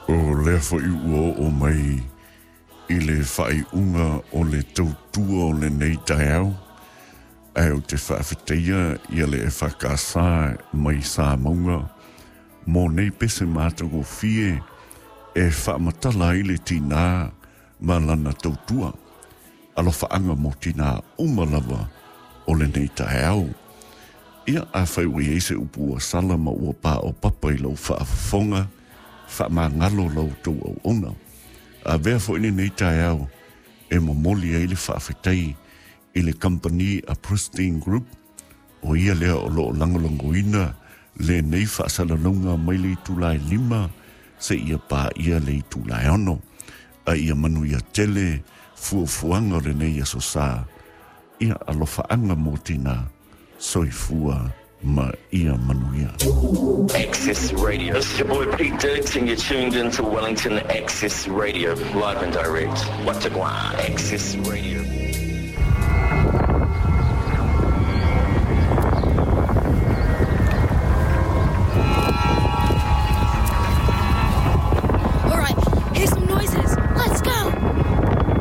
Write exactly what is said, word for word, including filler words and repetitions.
O lea fo'i ua oo mai i le faaiuga o le tautua o lenei taeao, ae ou te faafetaia ia le E F K S mai Samauga mo nei pese matagofie e faamatala ai le tinā ma lana tautua. Alofaaga mo tinā uma lava o lenei taeao. Ia afai ua iai se upu ua sala ma ua paopapa i lau faafofoga, faamagalo la outou auauna. Avea fo'i lenei taeao e momoli ai le faafetai i le kamupani a Pristine Group, o ia lea o loo lagolagoina lenei faasalalauga mai le itula e lima seia paia le itula e ono. A ia manuia tele fuafuaga o lenei aso sa. Ia alofaaga mo tinā. Soifua ma ia manuia. Access Radio. This is your boy Pete Diggs and you're tuned into Wellington Access Radio, live and direct. What a guan. Access Radio.